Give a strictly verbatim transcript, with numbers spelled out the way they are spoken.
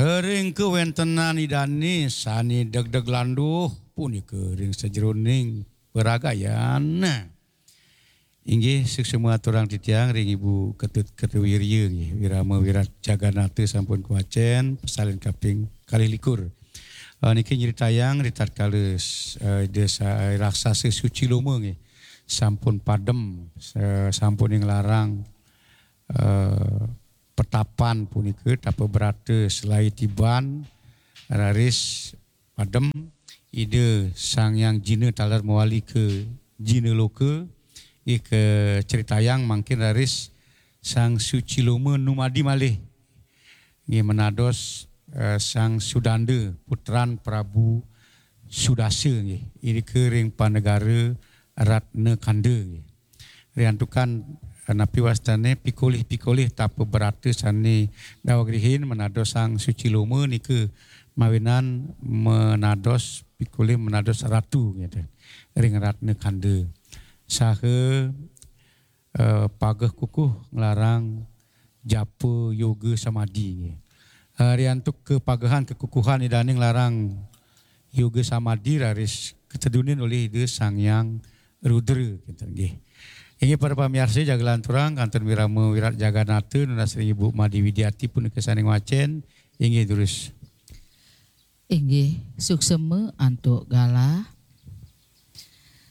Ring kawéntenan Idané sané degdeg landuh punika ring sajeroning paragayan. Inggih, suksma aturang titiang ring Ibu Ketut Kertawirya nggih, Wirama Wirat Jagannatha sampun kawacén, pasalin kaping kalih likur. Eh, niki nyritayang ritatkala s-, eh, Ida Sa-, Raksasa Suciloma nggih, sampun padem, eh, sampun nglarang, eh, petapan punika tapa brata selaé tiban, raris padem Ida Sang Hyang Jina taler mawali ka Jina Loka, nggih kacritayang mangkin raris Sang Suciloma numadi malih, nggih, menados, eh, Sang Sudanda putran Prabu Sudasa nggih, irika ring panegara Ratna Kanda nggih. Riantukan, eh, napi wastané pikolih-pikolih tapa brata sané dawagrihin menados Sang Suciloma nika mawinan menados pikolih menados ratu gitu, ring Ratna Kanda. Saha, eh, pageh kukuh nglarang japa yoga samadi nggih. Eh, riantuk kapagehan kekukuhan Idané nglarang yoga samadi raris katedunin olih Ida Sang Hyang Rudra, kinten nggih. Inggih para pamiarsa, jaga lanturang kantun Wirama Wirat Jagannatha nunas ring Ibu Made Widiati punika sané ngwacén. Inggih durus. Inggih, suksma antuk galah.